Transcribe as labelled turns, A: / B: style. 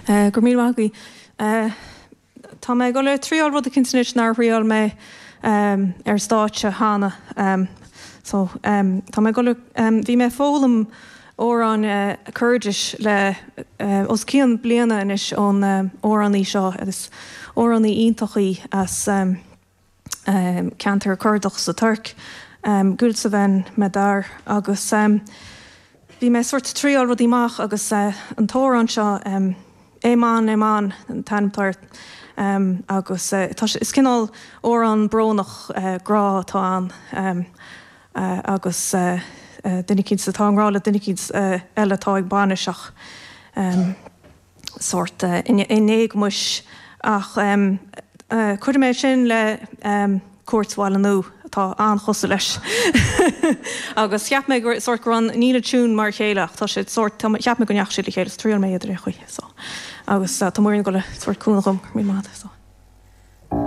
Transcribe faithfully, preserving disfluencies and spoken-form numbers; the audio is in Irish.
A: Go raibh míle maith agaibh. Tá mé ag dul a thriáil rud eicínt anois nár thriáil mé ar stáitse cheana. So tá mé ag dul a, bhí mé ag foghlaim amhrán Coirdis le os cionn bliana anois ón amhránaí seo agus amhránaí iontach í as ceantar Cordach sa Tuirc, Gülseven Medar agus bhí mé sort triáil rudaí amach agus an t-amhrán seo Eman Eman an t-ainm atá air agus tá sé, is cineál amhrán brónach grá atá ann agus duine eicínt atá i ngrá le duine eicínt eile atá ag bainis ach sórt in éagmais ach cuirfidh mé sin le Cúirt Bhaile Nua atá an-chosúil leis agus cheap mé gur sórt go raibh níl an tiún mar a chéile ach tá siad sórt cheap mé go ndeachaigh siad le chéile so triail mé iad ar aon chaoi so agus tá Muireann ag dul a sórt cúnamh dhom go raibh míle maith agat so.